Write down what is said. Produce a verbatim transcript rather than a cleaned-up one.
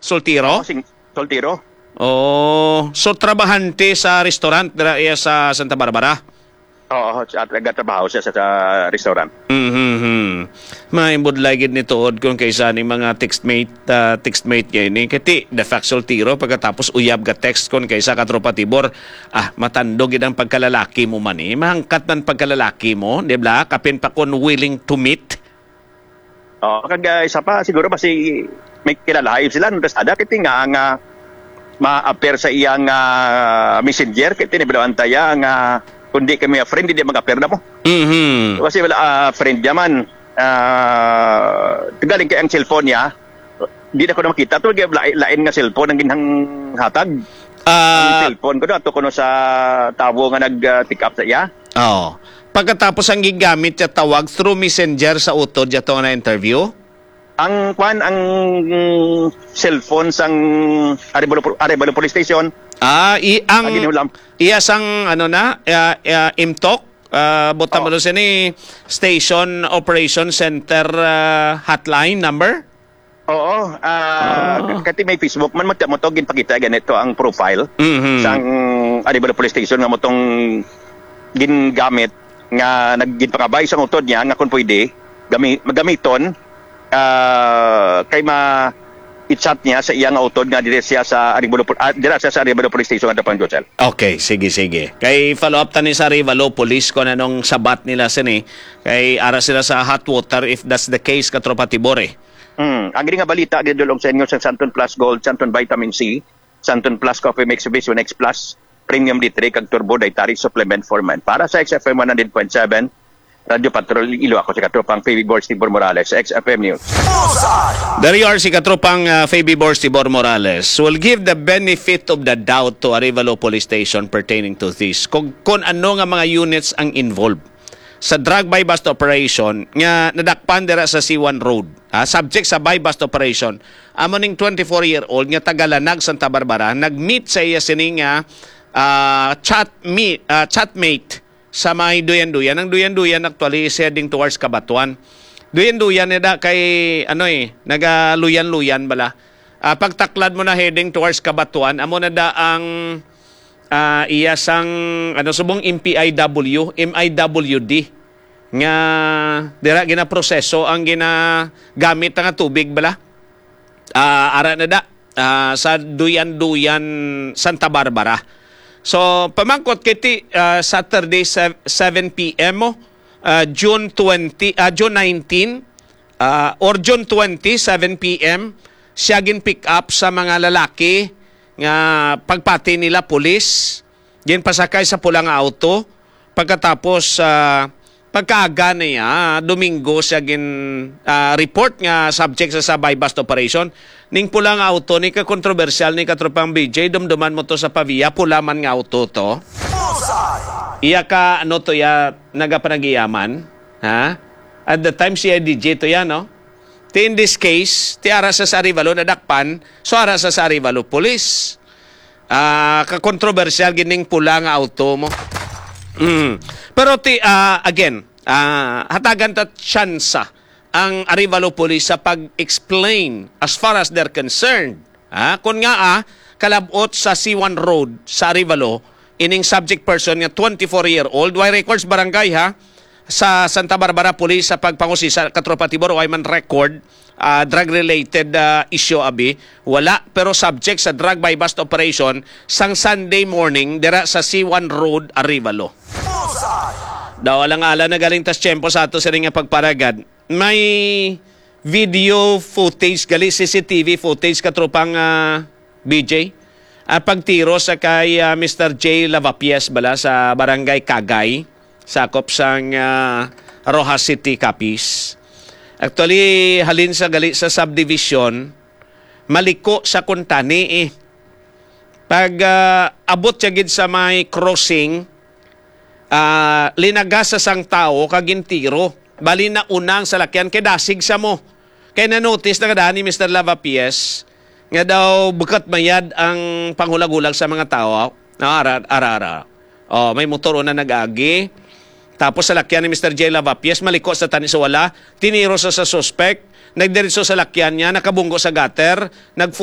Soltero? Oh, sing-, soltero. Oh, so trabahante sa restaurant dira iya sa Santa Barbara? Oo, sa, nagatrabaho siya sa, sa restaurant. Mhm. May budlay gid ni tuod kung kaysa ning mga textmate, ah, textmate kay ni. Kay ti, the fact soltero, pagkatapos uyab ga text kon kaysa ka tropa Tibor. Ah, matandog gid ang pagkalalaki mo man eh. Mahangkat man pagkalalaki mo, di ba? Kapin pa kon willing to meet. Oh, kag, ah, isa pa, siguro basi may kilalahay sila, no? Tas ada, kiti nga, nga ma-appear sa iyang, ah, messenger, kiti ni Belo Antaya, nga kundi kami a friend, hindi mag-appear na mo. Mhm. Kasi wala, ah, friend niya man. Ah, galing kay ang cellphone niya, di na ko na makita. To, lain, lain nga cellphone ang ginhang hatag. Ang Ah, cellphone ko na, to kuno sa tawo nga nag, ah, pick up sa iya. Oo. Pagkatapos ang gigamit siya tawag through messenger sa utod niya to na interview? Ang kwan, ang, mm, cellphone sang Arevalo, Arevalo Police Station. Ah, i-, ang Ang ginulam. Iya sang, ano na, ah, ah, imtok, ah, butang Oh. mo sini Station Operation Center, ah, hotline number? Oo, ah, Ah. kati may Facebook man, mo to, mo to, ginpakita ganito ang profile Mhm. sang Arevalo Police Station nga mo tong gingamit nga nag-, ginpangabay sang utod niya nga kung pwede, gami-, magamiton, ah, kay ma-, i-chat niya sa iya nga utod nga diri siya sa Arevalo Pol-, ah, dira siya sa Arevalo Police Station nga Dapang Josel. Okay, sige, sige. Kay follow up tani sa Arevalo Police kung anong sabat nila sini. Kay ara sila sa hot water if that's the case, Katropa Tibor, eh. Mm, ang gini nga balita gidulong sa inyo sa Santon Plus Gold, Santon Vitamin C, Santon Plus Coffee Mix, Vision X Plus, Premium D three kag Turbo Dietary Supplement for Men. Para sa X F M one hundred point seven, Radyo Patrol Iloilo, ako si Katropang P B Borsty Bor Morales, X F M News. There you are, si Katropang, ah, Fabi Borsty Bor Morales. Will give the benefit of the doubt to Arevalo Police Station pertaining to this. Kung, kung ano nga mga units ang involved sa drug buy-bust operation nga nadakpan dira sa C one Road, ha, subject sa buy-bust operation, amo ning twenty-four-year-old nga taga Lanag, Santa Barbara, nag-meet sa iya sini nga, ah, chat me-, ah, chatmate sa may Duyan-Duyan. Ang Duyan-Duyan actually is heading towards Cabatuan. Duyan-Duyan ni da kay, ano eh, nagaluyan-luyan bala. Ah, pagtaklad mo na heading towards Cabatuan, amo na da ang, ah, iya sang, ano, subong M P I W, M I W D, nga dira ginaproseso ang ginagamit nga tubig bala. Ah, ara na da, ah, sa Duyan-Duyan, Santa Barbara. So, pamangkot kiti, ah, Saturday, sev-, seven P M mo, ah, June twenty, ah, June nineteen, ah, or June twenty, seven P M, siya gin-pick up sa mga lalaki nga pagpati nila pulis, ginpasakay sa pula nga auto. Pagkatapos, ah, pagkaaga niya, Domingo siya gin, ah, report nga subject sa, sa buy-bust operation. Ning pula nga auto ni ka kontrobersyal ni Katropang B J, dumduman mo to sa Pavia, pula man nga auto to. Iya ka, ano to ya, nagapanagiyaman, ha? At the time, C I D G to ya, no? Ti in this case, ti ara sa, sa Arevalo nadakpan, so ara sa, sa Arevalo Police. Ah, ka-kontrobersyal gining pula nga auto mo. Mm. Pero ti, ah, again, ah, hatagan ta tsansa ang Arevalo Police sa pag-explain as far as they're concerned. Ah, kun nga, ah, kalabot sa C one Road sa Arevalo, ining subject person nga twenty-four-year-old, way records barangay, ha, sa Santa Barbara Police sa pagpangusisa, Katropa Tibor, way man record, ah, drug-related, ah, issue, abi. Wala, pero subject sa drug buy-bust operation sang Sunday morning dira sa C one Road, Arevalo. Daw alang-alang na galing tas tiyempo sa ato sa nga pagparagad. May video footage gali, C C T V footage, Katropang, ah, B J. Ah, pagtiro sa kay, ah, Mister J Lavapies bala sa Barangay Kagay, sakop sang, ah, Roxas City, Capiz. Actually, halin sa gali sa subdivision, maliko sa kuntani eh. Pag, ah, abot siya gid sa may crossing, ah, linagas sa sang tawo kag gintiro. Bali na unang salakyan kay dasig sa mo. Kay na-notice na kadaan ni Mister Lavapies nga daw bukat mayad ang panghulag-hulag sa mga tawo. Ah, ara, ara, ara. Oh, may motor una nag-agi. Tapos salakyan ni Mister J Lavapies, maliko sa tani sa wala. Tiniro sa, sa suspect. Nagdiretso sa lakyan niya, nakabunggo sa gutter. Nag-four